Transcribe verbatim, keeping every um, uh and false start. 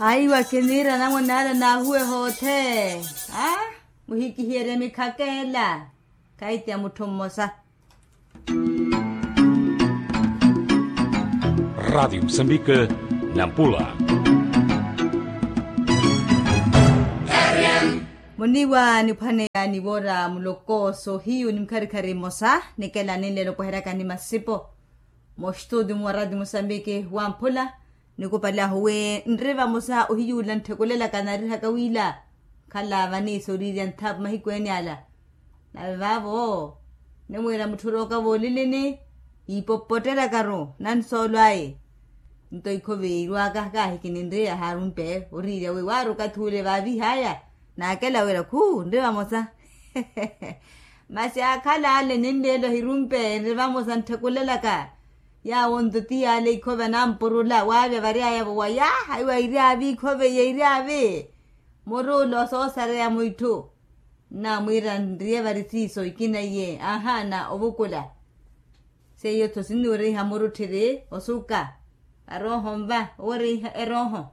Aiwa kiniira anamuna ala naahuwe hoothe. Muhikihiyerye mikhaka ela. Khaiti ya mutthu mmosa. Radiyo musambike. Nampula. Muniwa niphwaneya nivoora muloko soohiyu ni mukharikari mmosa nikela ninlelo kweheryaka ni masipo. Mustutio mwa radiyo musambike wamphula. Nikupali ahu wi nri vamosa ohiyuula ntthekulelaka naarihaka wiila. Khala vaniisa oriirya nthaapu mahiku ene ala. Nave vaavo nimwiira mutthu orooka voolilini iipopotterakaru nansoolo aye. Nto ikhove yiirwaka kaahikininriya haarumpe oriirya wi waari okathi ule vaavihaya. Naakela wira khuu nri vamosa. Masi aakhala ale ninleelo hirumpe nri vamosa ntthakulelaka. Yaawo nto ti yaale ikhove anampurula waavya varyayavo wa yaaha iwa iryaavi ikhove iya iryaavi. Muruula osoosareya mwitthu. Nnamwiira nriye vari siiso ikina iye aahaana ovukula. Seiyo-tho sinnuwereiha murutthiri osuka. Arooho nva owereiha erooho.